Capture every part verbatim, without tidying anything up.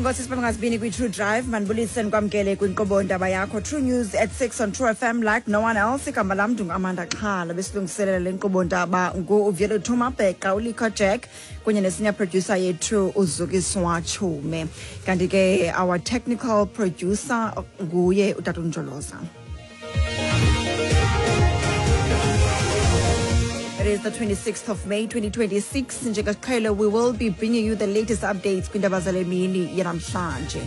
Enkosi sibangazibini kwi-True Drive. Mandibulise ndikwamkele kwinkqubo ndaba yakho True News at six on True F M like no one else. Igama lam ndinguAmanda Xhala. Besilungiselela le nkqubo ndaba nguVuyelwethu Mabheqa, uLikho Jack kunye ne-senior producer yethu uZukiswa Chume. Kanti ke our technical producer nguye uTata Njoloza. It is the twenty-sixth of May twenty twenty-six. Njengesiqhelo, we will be bringing you the latest updates kwindaba zale mini yanamhlanje.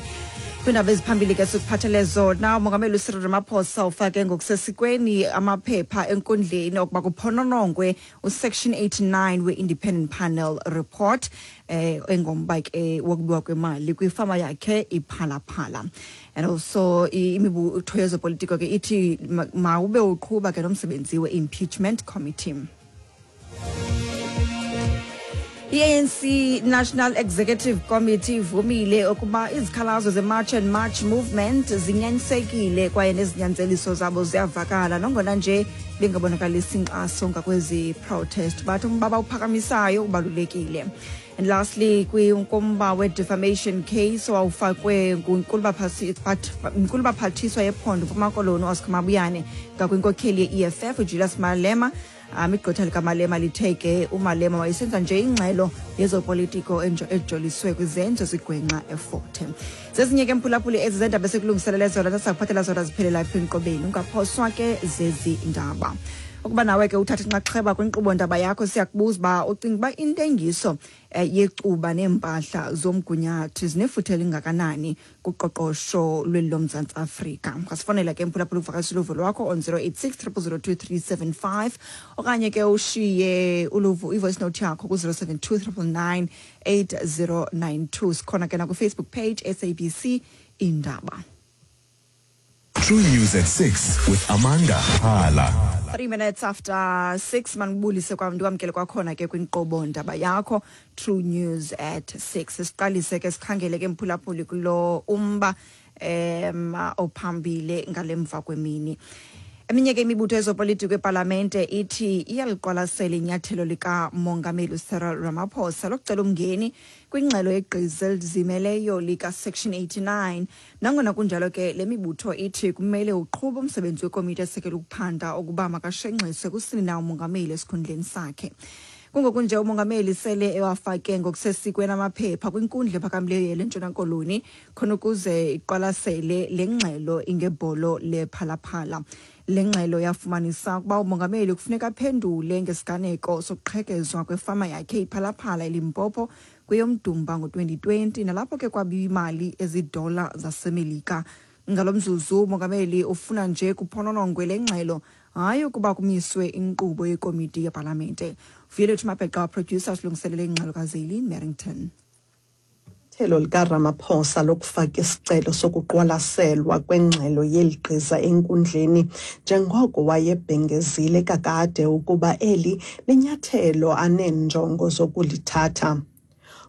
Kwiindaba eziphambili ke sikuphathele zona, umongameli uCyril Ramaphosa ufake ngokusesikweni amaphepha enkundleni okuba kuphononongwe uSection eighty-nine we-Independent Panel Report eh engomba ke wokubiwa kwemali kwifama yakhe iPhalaphala. And also imibutho yezopolitiko ke ithi mawube uqhuba ke nomsebenzi we-impeachment committee. I-A N C National Executive Committee ivumile ukuba izikhalazo ze-March and March movement zinyanisekile kwaye nezinyanzeliso zabo ziyavakala, nangona nje bengabonakalisi inkxaso ngakwezi protest, bathi umba abawuphakamisayo ubalulekile. And lastly, kwinkomba we-defamation case owawufakwe nguNkulubaphathiswa yephondo Mpuma Koloni uOscar Mabuyane ngakwinkokheli ye-E F F uJulius Malema, Um, igqwetha likaMalema lithe ke uMalema wayesenza nje ingxelo yezopolitiko ejoliswe kwizenzo zigwenxa eFort. Zezinye ke mphulaphuli ezi zendaba esekulungiselele zona, sasakuphathela zona ziphelela apha enkqubeni. Ungaphoswa ke zezi ndaba. Ukuba nawe ke uthatha inxaxheba kwinkqubo ndaba yakho, siyakubuza uba ucinga uba intengiso yecuba neempahla zomgunyathi zinefuthe elingakanani kuqoqosho lweli loMzantsi Afrika. Ungasifonela ke mphulaphula uvakalise uluvo lwakho on zero eight six triple zero two three seven five okanye ke ushiye uluvo i-voice note yakho ku zero seven two triple nine eight zero nine two. Sikhona ke naku-Facebook page S A B C Indaba. True News at six with Amanda Hala. Three minutes after six, manibulise kwa ndiwamkele kwakhona ke kwinkqubo ndaba yakho True News at six. Siqalise ke sikhangele ke mphulaphuli kulo umba em ophambile ngalemva kwemini. Eminye ke imibutho yezopolitiko ePalamente ithi iyaliqwalasela inyathelo likaMongameli Cyril Ramaphosa lokucela umngeni kwingxelo yegqiza elizimeleyo lika Section eighty-nine. Nangona kunjalo ke le mibutho ithi kumele uqhube umsebenzi wekomiti esekela ukuphanda ukuba makashenxiswe kusini na umongameli esikhundleni sakhe. Kungoku nje umongameli sele ewafake ngokusesikweni amaphepha kwinkundla ephakamileyo yeNtshona Koloni khona ukuze iqwalasele le ngxelo ingebholo lePhalaphala. Le ngxelo yafumanisa ukuba umongameli kufuneka aphendule ngesiganeko sokuqhekezwa kwefama yakhe iPhalaphala eLimpopo kweyoMdumba ngo-twenty twenty, nalapho ke kwabiwa imali ezidola zaseMelika. Ngalo mzuzu umongameli ufuna nje kuphononongwe le ngxelo, hayi ukuba kumiswe inkqubo yekomiti yepalamente. Vuyelwethu Mabheqa, producer, silungiselele ingxelo kaZeline Merrington. Inyathelo likaRamaphosa lokufaka isicelo sokuqwalaselwa kwengxelo yeli gqiza enkundleni, njengoko wayebhengezile kakade ukuba eli linyathelo aneenjongo zokulithatha.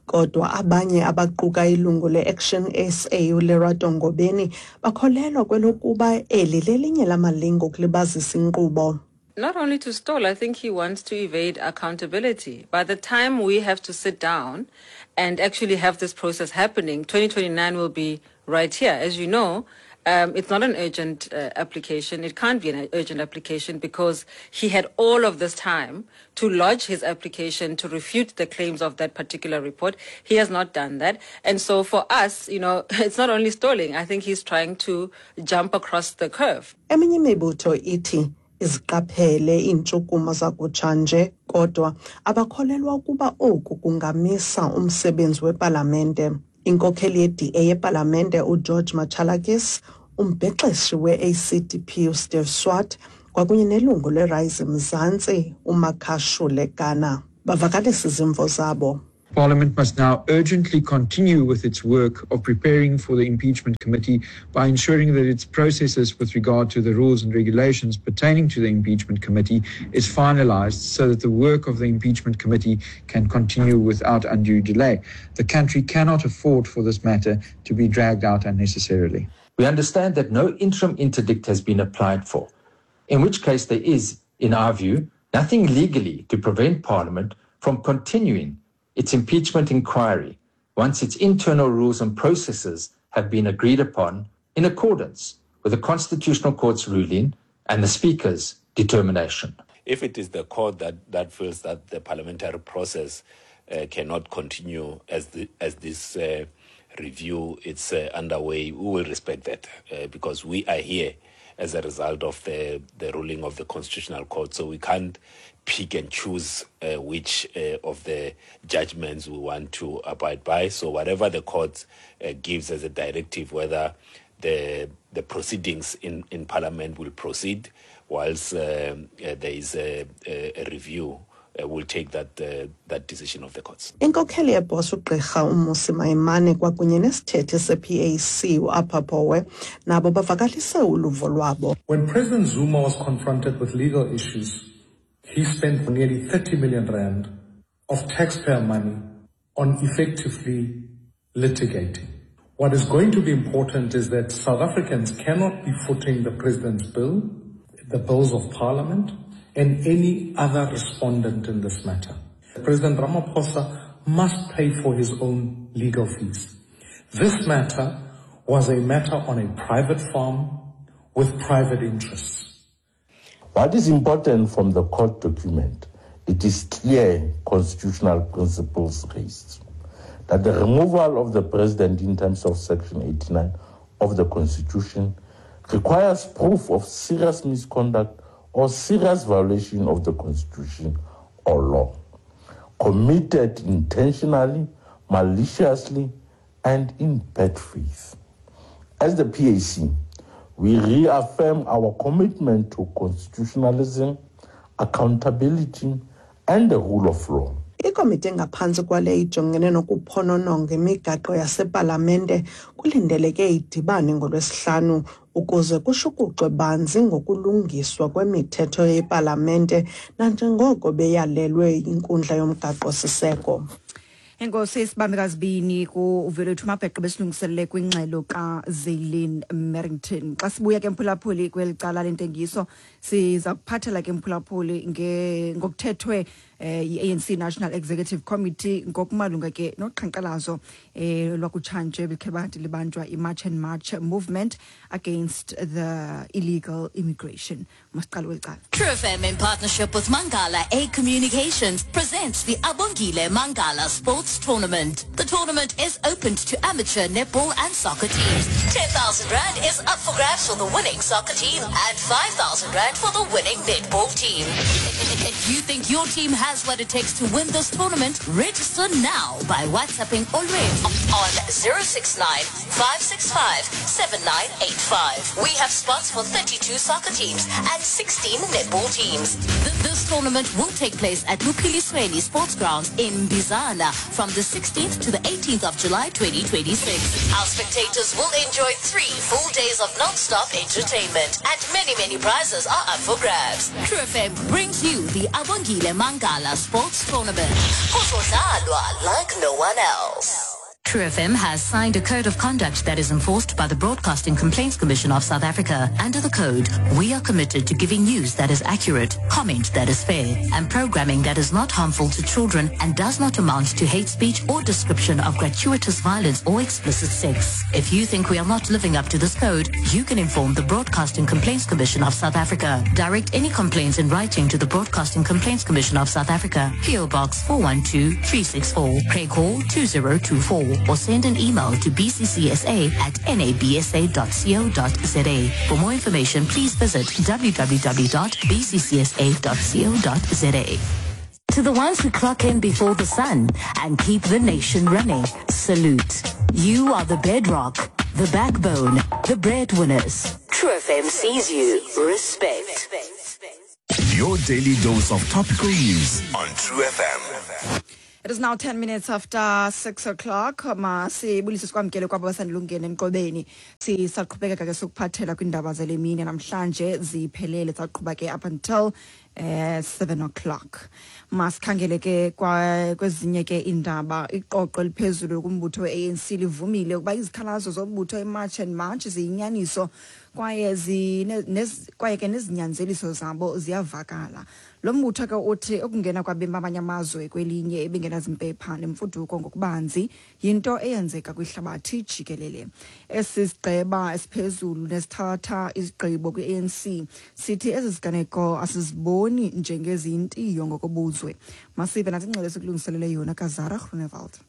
Kodwa abanye abaquka ilungu le-Action S A uLerato Ngobeni bakholelwa kwelokuba eli lelinye lamalinge okulibazisa inkqubo. Not only to stall, I think he wants to evade accountability. By the time we have to sit down and actually have this process happening, twenty twenty-nine will be right here. As you know, um, it's not an urgent, uh, application. It can't be an urgent application because he had all of this time to lodge his application to refute the claims of that particular report. He has not done that. And so for us, you know, it's not only stalling. I think he's trying to jump across the curve. Eminye imibutho ithi iziqaphele iintshukumo zakutshanje, kodwa abakholelwa ukuba oku kungamisa umsebenzi wepalamente. Inkokheli ye-D A yepalamente uGeorge Michalakis, umbhexeshi we-A C D P uSteve Swart kwakunye nelungu leRise Mzansi uMakhashule Gana bavakalisa izimvo zabo. Parliament must now urgently continue with its work of preparing for the impeachment committee by ensuring that its processes with regard to the rules and regulations pertaining to the impeachment committee is finalized so that the work of the impeachment committee can continue without undue delay. The country cannot afford for this matter to be dragged out unnecessarily. We understand that no interim interdict has been applied for, in which case there is, in our view, nothing legally to prevent Parliament from continuing its impeachment inquiry once its internal rules and processes have been agreed upon in accordance with the Constitutional Court's ruling and the Speaker's determination. If it is the court that, that feels that the parliamentary process uh, cannot continue as, the, as this uh, review is uh, underway, we will respect that uh, because we are here as a result of the, the ruling of the Constitutional Court. So we can't pick and choose uh, which uh, of the judgments we want to abide by. So whatever the court uh, gives as a directive, whether the the proceedings in, in Parliament will proceed whilst uh, uh, there is a, a, a review, uh, we'll take that uh, that decision of the courts. Inkokheli yeBOSA ugqirha uMmusi Maimane kwakunye nesithethi se-P A C uArthur Pooe nabo bavakalise uluvo lwabo. When President Zuma was confronted with legal issues, he spent nearly thirty million rand of taxpayer money on effectively litigating. What is going to be important is that South Africans cannot be footing the president's bill, the bills of parliament, and any other respondent in this matter. President Ramaphosa must pay for his own legal fees. This matter was a matter on a private farm with private interests. What is important from the court document, it is clear constitutional principles raised that the removal of the president in terms of Section eighty-nine of the Constitution requires proof of serious misconduct or serious violation of the Constitution or law, committed intentionally, maliciously, and in bad faith. As the P A C, we reaffirm our commitment to constitutionalism, accountability, and the rule of law. Ikomiti engaphantsi kwale ijongene nokuphonononga imigaqo yasepalamente kulindeleke idibane ngoLwesihlanu ukuze kushukuxwe banzi ngokulungiswa kwemithetho yepalamente nanjengoko beyalelwe inkundla yomgaqo-siseko. Enkosi, sibambe kazibini kuVelethu Mabheqe besilungiselele kwingxelo kaZeylin Merrington. Xa sibuya ke mphulaphuli kweli cala lentengiso, siza kuphathela ke mphulaphuli ngokuthethwe eh, yi-A N C National Executive Committee ngokumalunga ke noqhankqalazo eh, lwakutshanje bekhe bathi libanjwa i-March and March movement against the illegal immigration. Masiqale kweli cala. True F M, in partnership with Mangala A Communications, presents the Abongile Mangala Sports Tournament. The tournament is open to amateur netball and soccer teams. ten thousand rand is up for grabs for the winning soccer team and five thousand rand for the winning netball team. If you think your team has what it takes to win this tournament, register now by WhatsApping Olwethu on zero six nine five six five seven nine eight five. We have spots for thirty-two soccer teams and sixteen netball teams. Th- this tournament will take place at Lupilisweni Sports Grounds in Bizana from the sixteenth to the eighteenth of July twenty twenty-six. Our spectators will enjoy three full days of non-stop entertainment, and many, many prizes are up for grabs. True F M brings you the Abongile Mangala Sports Tournament. Kuzodlalwa like no one else. True F M has signed a code of conduct that is enforced by the Broadcasting Complaints Commission of South Africa. Under the code, we are committed to giving news that is accurate, comment that is fair, and programming that is not harmful to children and does not amount to hate speech or description of gratuitous violence or explicit sex. If you think we are not living up to this code, you can inform the Broadcasting Complaints Commission of South Africa. Direct any complaints in writing to the Broadcasting Complaints Commission of South Africa, P O. Box four one two three six four, Craighall two zero two four, or send an email to b c c s a at nabsa dot co dot za. For more information, please visit w w w dot b c c s a dot co dot za. To the ones who clock in before the sun and keep the nation running, salute. You are the bedrock, the backbone, the breadwinners. True F M sees you. Respect. Your daily dose of topical news on True F M. It is now ten minutes after six o'clock. Masibulise sikwamkele kwabo basandulungena emqobeni. Sisaqhubeka ke sokuphathela kwindaba zale mini namhlanje ziphelele, saqhuba ke up until eh seven o'clock. Masikhangele ke kwa kwezinye ke indaba. Iqoqo eliphezulu kumbutho we-A N C livumile ukuba izikhalazo zombutho iMarch and March ziyinyaniso kwaye zine nez- kwaye ke nezinyanzeliso zabo ziyavakala. Lo mbutho ke uthi ukungena kwabemi bamanye amazwe kwelinye ebengenazimpepha nemfuduko ngokubanzi yinto eyenzeka kwihlabathi jikelele. Esi sigqeba esiphezulu nesithatha izigqibo kwi-A N C sithi ezi ziganeko asiziboni njengeziyintiyo ngokobuzwe. Masive nathi ingxelo esikulungiselele yona kaZara Groenewald.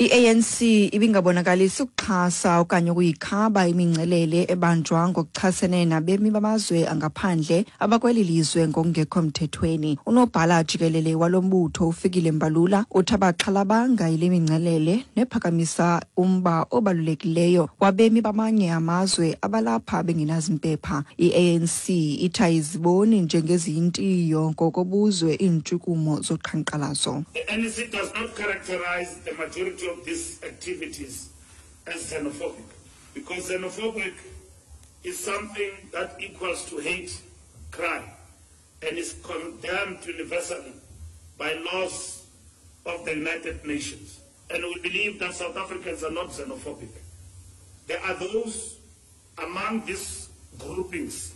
I-A N C ibingabonakalisi ukuxhasa okanye ukuyikhaba imingcelele ebanjwa ngokuchasene nabemi bamazwe angaphandle abakweli lizwe ngokungekho mthethweni. Unobhala jikelele walo mbutho uFikile Mbalula uthi abaxhalabanga yile mingcelele nephakamisa umba obalulekileyo wabemi bamanye amazwe abalapha bengenazimpepha. I-A N C ithi ayiziboni njengeziyintiyo ngokobuzwe iintshukumo zoqhankqalazo. The N E C does not characterize the majority of these activities as xenophobic, because xenophobic is something that equals to hate crime and is condemned universally by laws of the United Nations. And we believe that South Africans are not xenophobic. There are those among these groupings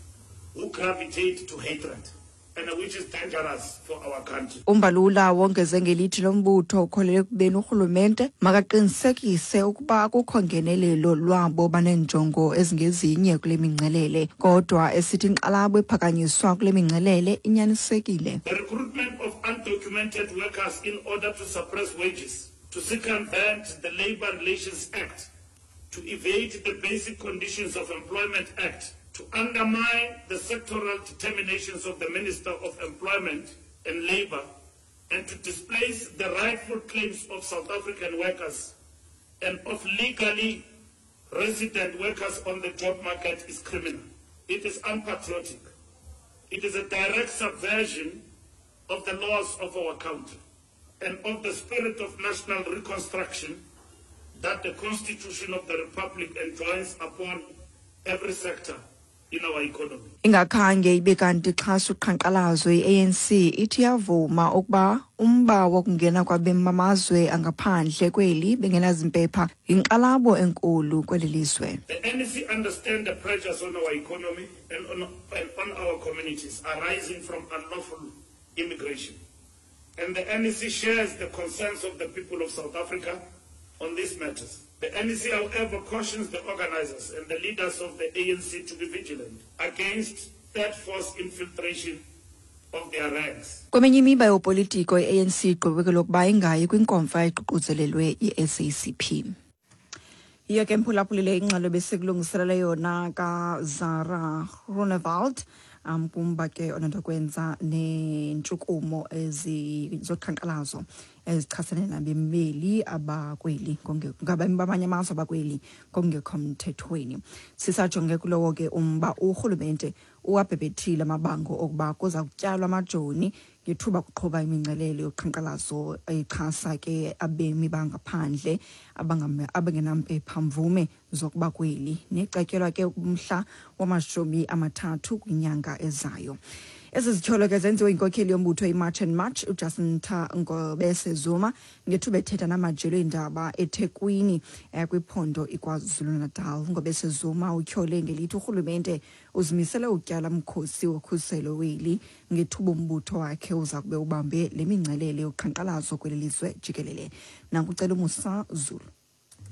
who gravitate to hatred, and which is dangerous for our country. Umbalula wongeze ngelithi lo mbutho ukholele ekubeni urhulumente makaqinisekise ukuba akukho ngenelelo lwabo baneenjongo ezingezinye kule mingcelele, kodwa esithi inkxalabo ephakanyiswa kule mingcelele inyanisekile. The recruitment of undocumented workers in order to suppress wages, to circumvent the Labour Relations Act, to evade the Basic Conditions of Employment Act, to undermine the sectoral determinations of the Minister of Employment and Labour, and to displace the rightful claims of South African workers and of legally resident workers on the job market is criminal. It is unpatriotic. It is a direct subversion of the laws of our country and of the spirit of national reconstruction that the Constitution of the Republic enjoins upon every sector in our economy. Ingakhange ibe kanti xhasa uqhankqalazo, i-A N C ithi yavuma ukuba umba wokungena kwabemi bamazwe angaphandle kweli bengenazimpepha yinkxalabo enkulu kweli lizwe. The N E C understand the pressures on our economy and on, and on our communities arising from unlawful immigration. And the N E C shares the concerns of the people of South Africa on these matters. The N E C, however, cautions the organizers and the leaders of the A N C to be vigilant against third force infiltration of their ranks. Kweminye imiba yopolitiko, i-A N C igqibe lokuba ingayi kwinkomfa eququzelelwe i-S A C P. Yiyo ke mphulaphulile ingxelo besikulungiselele yona kaZara Groenewald, um kumba ke onentokwenza nentshukumo ezizoqhankqalazo ezichasene nabemeli abakweli ngabemi bamanye amazwe abakweli ngokungekho mthethweni. Sisajonge kulowo ke umba, urhulumente uwabhebhethile amabango okuba kuza kutyalwa amajoni ngethuba kuqhuba imingcelele yoqhankqalazo exhasa ke abemi bangaphandle abangenampepha mvume zokuba kweli, necetyelwa ke umhla wamashumi amathathu kwinyanga ezayo. Ezi zityholo ke zenziwe yinkokheli yombutho iMarch and March uJacinta Ngobese Zuma ngethuba ethetha namajelo eendaba eThekwini kwiphondo iKwaZulu-Natal. Ngobese Zuma utyhole ngelithi urhulumente uzimisele utyala mkhosi wokhuselo weli ngethuba umbutho wakhe uza kube ubambe le mingcelele yoqhankqalazo kweli lizwe jikelele. Nankucela uMusa Zulu.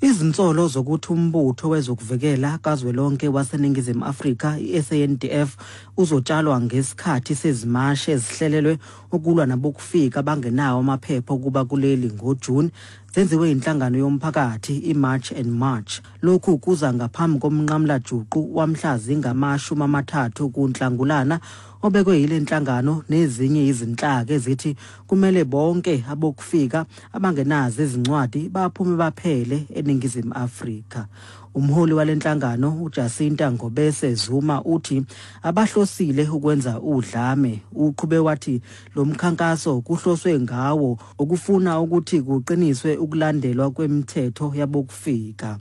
Izinsolo zokuthi umbutho wezokuvikela kazwelonke waseNingizimu Afrika i-S A N D F uzotshalwa ngesikhathi sezimashi ezihlelelwe ukulwa nabokufika abangenawo amaphepha okuba kuleli ngoJune zenziwe inhlangano yomphakathi iMarch and March. Lokhu kuza ngaphambi komnqamlajuqu wamhla zingamashumi amathathu kuNhlangulana obekwe yile nhlangano nezinye izinhlaka ezithi kumele bonke abokufika abangenazo izincwadi baphume baphele eNingizimu Afrika. Umholi walenhlangano uJacinta Ngobese Zuma uthi abahlosile ukwenza udlame. Uqhube wathi lo mkhankaso kuhloswe ngawo ukufuna ukuthi kuqiniswe ukulandelwa kwemithetho yabokufika.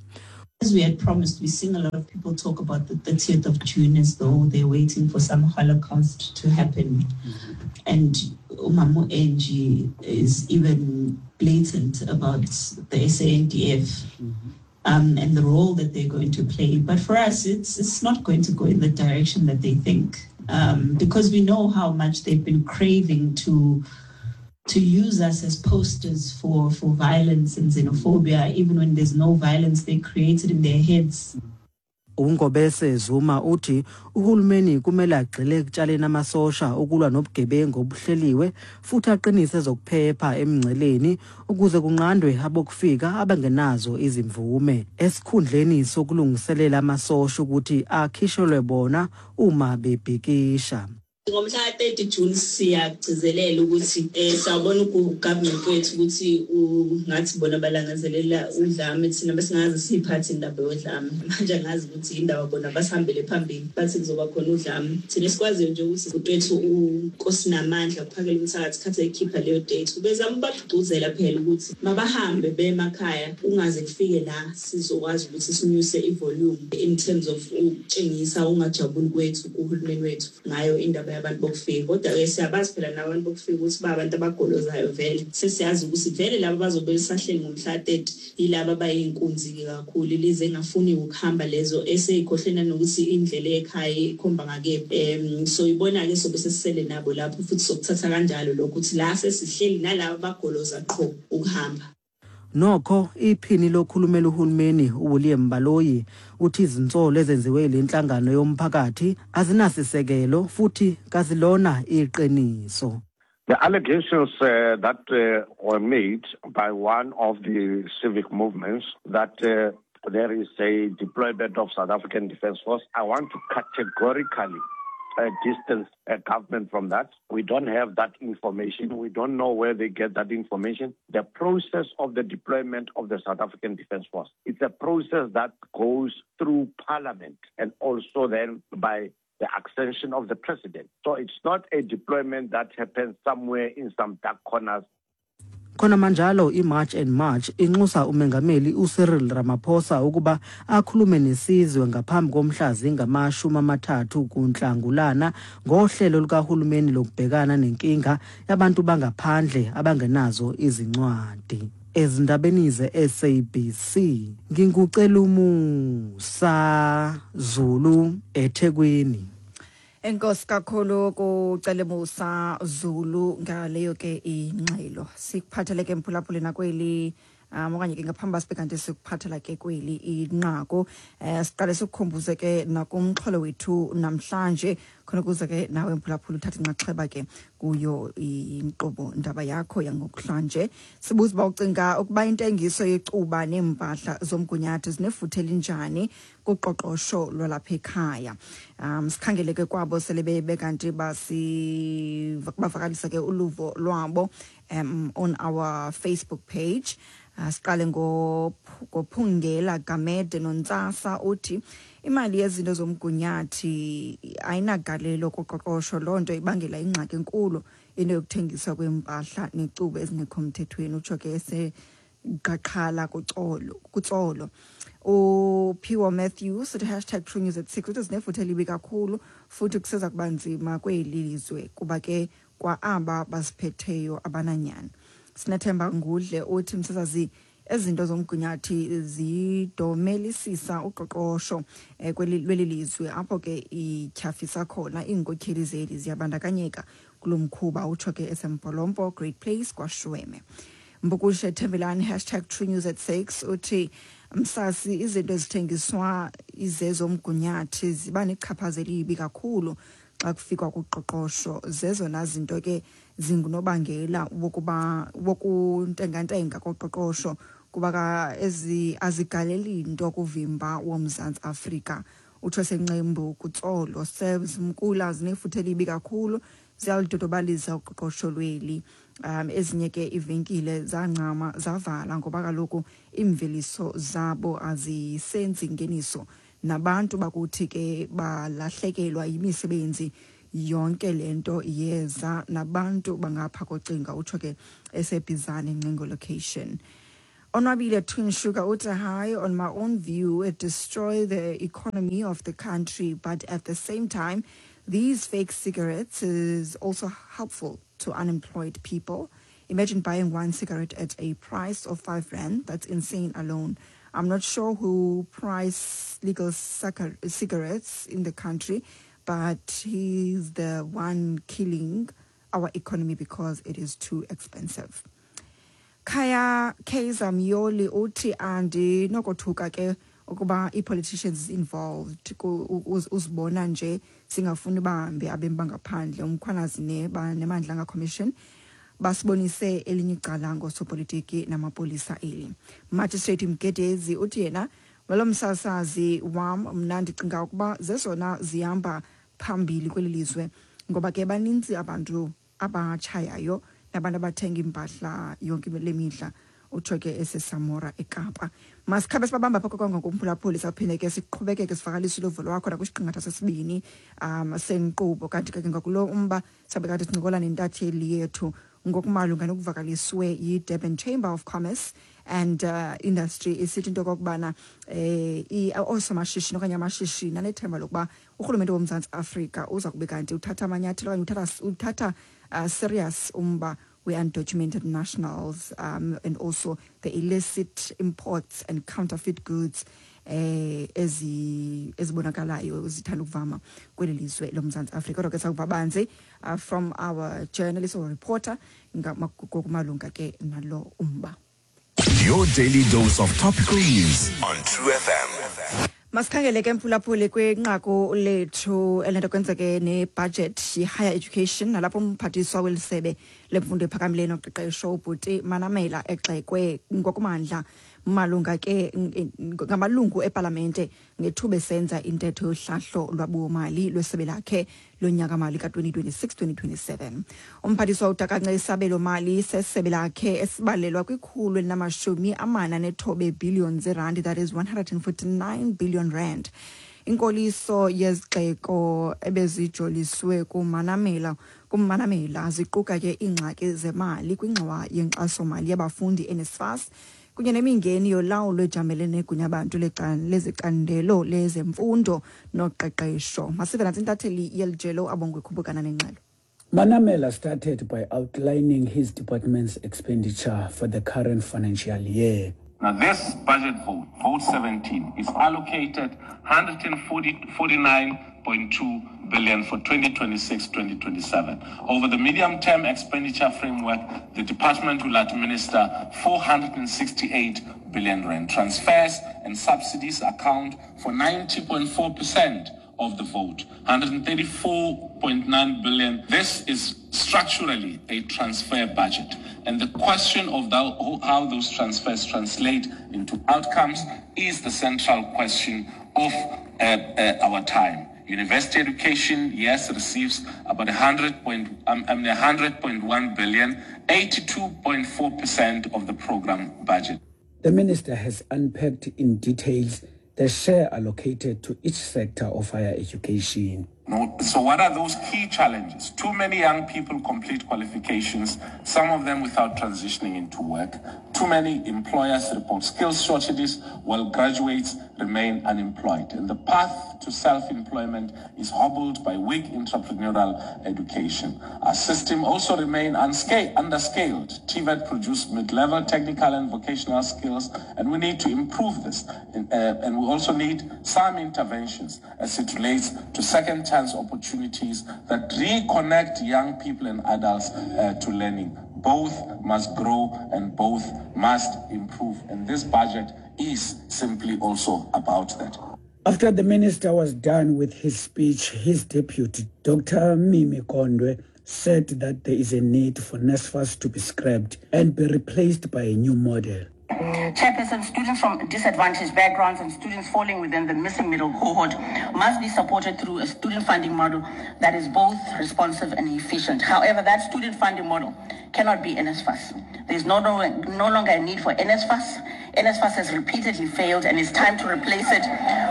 As we had promised, we're seeing a lot of people talk about the thirtieth of June as though they're waiting for some Holocaust to happen. Mm-hmm. And Umamu Angie is even blatant about the S A N D F mm-hmm. um, and the role that they're going to play. But for us, it's, it's not going to go in the direction that they think. Um, because we know how much they've been craving to to use us as posters for, for violence and xenophobia. Even when there's no violence, they create it in their heads. UNgobese Zuma uthi uhulumeni kumele agxile ekutshaleni amasosha ukulwa nobugebengu obuhleliwe futhi aqinise ezokuphepha emngceleni ukuze kunqandwe abokufika abangenazo izimvume esikhundleni sokulungiselela amasosha ukuthi akhishelwe bona uma bebhikisha. Ngomhla ka-thirty June siyagcizelela ukuthi eh sawubona ku-government wethu ukuthi ungathi bona balangazelela udlame, thina besingaze siyiphathe indaba yodlame. Manje angazi ukuthi indaba bona basihambele phambili bathi kuzoba khona udlame. Thina sikwaziyo nje ukuthi utwethu uNkosinamandla uphakele umthakathi khathi ekhipha leyo date. Ubezama ubagqugquzela phela ukuthi mabahambe beye emakhaya, ungaze kufike la sizokwazi ukuthi sinyuse i-volume in terms of ukutshengisa ungajabuli kwethu kuhulumeni wethu ngayo indaba yabantu bokufika. Kodwa-ke siyabazi phela nabantu bokufika ukuthi ba abantu abagolozayo vele. Sesiyazi ukuthi vele laba bazobe besahleli ngomhla thirty yilaba abayinkunzi-ke kakhulu, lezi engafuni ukuhamba lezo eseyikhohlena nokuthi indlela ekhaya ikhomba ngakephi. Um so ibona-ke sobe sesisele nabo lapho futhi sokuthatha kanjalo lokho ukuthi la sesihleli nalaba abagoloza qho ukuhamba. Nokho iphini lokhulumela uhulumeni uWilliam Baloyi uthi izinsolo ezenziwe lenhlangano yomphakathi azinasisekelo futhi kazilona iqiniso. The allegations uh, that uh, were made by one of the civic movements that uh, there is a deployment of South African Defence Force, I want to categorically Uh, distance uh, government from that. We don't have that information. We don't know where they get that information. The process of the deployment of the South African Defence Force, it's a process that goes through Parliament and also then by the accession of the president. So it's not a deployment that happens somewhere in some dark corners. Khona manjalo iMarch and March inxusa umengameli uCyril Ramaphosa ukuba akhulume nesizwe ngaphambi komhla zingamashumi amathathu kuNhlangulana ngohlelo lukahulumeni lokubhekana nenkinga yabantu bangaphandle abangenazo izincwadi. Ezindabeni ze-S A B C ngingucela umusa Zulu eThekwini. Enkosi kakhulu kucele Musa Zulu ngaleyo ke ingxelo. Sikuphathele ke mphulaphuli nakweli um okanye ke ngaphambi sibe kanti sikuphathela ke kweli inqaku. Eh siqale sikukhumbuze ke nakumxholo wethu namhlanje khona kuze ke nawe mphulaphuli uthathe inxaxheba ke kuyo inkqubo ndaba yakho yangokuhlanje. Sibuza uba ucinga ukuba intengiso yecuba neempahla zomgunyathi zinefuthe elinjani kuqoqosho lwalapha ekhaya. Um sikhangele ke kwabo sele bebe kanti basi bavakalisa ke uluvo lwabo um on our Facebook page. Siqale ngophungela Gamede Nontsasa uthi imali yezinto zomgunyathi ayinagalelo kuqoqosho, lonto ibangela ingxaki enkulu into yokuthengiswa kwempahla necuba ezingekho mthethweni, utsho ke eseqaqhala kucolo kutsolo. uPhiwo Matthews uthi hashtag True News at six uthi zinefuthe elibi kakhulu futhi kuseza kuba nzima kweli lizwe kuba ke kwa aba basiphetheyo abananyana. Sinethemba Ngudle uthi msasazi ezinto zomgunyathi zidomelisisa uqoqosho kweli lizwe apho ke ityhafisa khona iinkokheli zeli ziyabandakanyeka kulo mkhuba, utsho ke eSempolompo Great Place kwaShweme. Mbukushe Thembelani hashtag True News at six uthi msasi izinto ezithengiswa izezomgunyathi ziba nechaphaza elibi kakhulu xa kufikwa kuqoqosho, zezona zinto ke zingunobangela wokuba wokuntengantenga koqoqosho kuba ka ezi azigaleli into kuvimba woMzantsi Afrika. Utsho senqembu kutsolo serves mkula zinefuthe elibi kakhulu ziyaludodobaliza uqoqosho lweli. Um ezinye ke ivenkile zancama zavala ngoba kaloku imveliso zabo azisenzi ingeniso nabantu bakuthi ke balahlekelwa imisebenzi yonke lento yeza nabantu bangapha kocinga, utsho ke esebhizane Ncingo location. Onwabile Twin Sugar uthi hi, on my own view it destroy the economy of the country, but at the same time these fake cigarettes is also helpful to unemployed people. Imagine buying one cigarette at a price of five rand. That's insane alone. I'm not sure who price legal cigarettes in the country, but he's the one killing our economy because it is too expensive. Khaya Kaiser Myoli uthi andinokothuka ke ukuba i-politicians involved uzibona nje singafuni bahambe abemi bangaphandle. UMkhwanazi neMadlanga Commission basibonise elinye icala ngosopolitiki namapolisa eli. Magistrate Mgedezi uthi yena, "Molo msasazi wam, mna ndicinga ukuba zezona zihamba phambili kweli lizwe ngoba ke baninzi abantu abatshayayo nabantu abathenga impahla yonke le mihla." Utsho ke eseSamora eKapa. Masikhabe sibabamba apha kwangokumphulaphuli, sawuphinde ke siqhubekeke sivakalise uluvo lwakho nakwisiqingatha sesibini um senkqubo. Kanti ke ngakulo umba sabe kade sincokola nentatheli yethu ngokumalunga nokuvakaliswe yi-Durban Chamber of Commerce and uh, Industry, isithi into okokubana eh oosomashishini okanye amashishini anethemba lokuba urhulumente woMzantsi Afrika uza kube kanti uthatha amanyathelo okanye uthatha, uthatha uh, serious umba we-undocumented nationals um, and also the illicit imports and counterfeit goods eh ezi ezibonakalayo zithanda ukuvama kweli lizwe loMzantsi Afrika. Kodwa ke sakuva banzi uh, from our journalist or reporter ngokumalunga ke nalo umba. Your daily dose of topical news on True F M. Masikhangele ke mphulaphuli kwinqaku lethu elento kwenzeke nebudget ye-higher education, nalapho umphathiswa weli sebe lemfundo ephakamileyo noqeqesho uButi Manamela egxekwe ngokumandla malunga ke ngamalungu epalamente ngethuba esenza intetho yohlahlo lwabiwomali lwesebe lakhe lonyaka-mali ka-twenty twenty-six twenty twenty-seven. Umphathiswa utakance isabelo-mali sesebe lakhe esibalelwa kwikhulu elinamashumi amane anethoba eebhiliyoni zerandi, that is one hundred forty-nine billion rand. Inkoliso yezigxeko ebezijoliswe kuManamela kuManamela ziquka ke iingxaki zemali kwingxowa yenkxaso-mali yabafundi N S F A S kunye nemingeni yolawulo ejamelene negunyabantu lezicandelo lezemfundo noqeqesho. Masive nantsi intatheli yeli jelo Abongwe Khubukana nengxelo. Manamela started by outlining his department's expenditure for the current financial year. Now, this budget vote, vote seventeen, is allocated one hundred forty-nine point two billion for twenty twenty-six twenty twenty-seven. Over the medium-term expenditure framework, the department will administer four hundred sixty-eight billion rand. Transfers and subsidies account for ninety point four percent of the vote, one hundred thirty-four point nine billion. This is structurally a transfer budget. And the question of the, how those transfers translate into outcomes is the central question of uh, uh, our time. University education, yes, receives about one hundred point, um, I mean, one hundred point one billion, eighty-two point four percent of the program budget. The minister has unpacked in details the share allocated to each sector of higher education. No, so what are those key challenges? Too many young people complete qualifications, some of them without transitioning into work. Too many employers report skills shortages while graduates remain unemployed. And the path to self-employment is hobbled by weak entrepreneurial education. Our system also remains unscaled, underscaled. T V E T produced mid-level technical and vocational skills, and we need to improve this. And, uh, and we also need some interventions as it relates to second chance opportunities that reconnect young people and adults uh, to learning. Both must grow and both must improve. And this budget is simply also about that. After the minister was done with his speech, his deputy, Doctor Mimi Kondwe, said that there is a need for N S F A S to be scrapped and be replaced by a new model. Chairperson, students from disadvantaged backgrounds and students falling within the missing middle cohort must be supported through a student funding model that is both responsive and efficient. However, that student funding model cannot be N S F A S. There is no, no longer a need for N S F A S. N S F A S has repeatedly failed, and it's time to replace it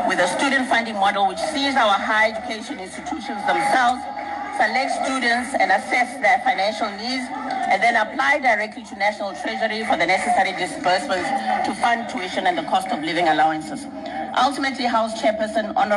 with a student funding model which sees our higher education institutions themselves select students and assess their financial needs, and then apply directly to National Treasury for the necessary disbursements to fund tuition and the cost of living allowances. Ultimately, House Chairperson, Honorable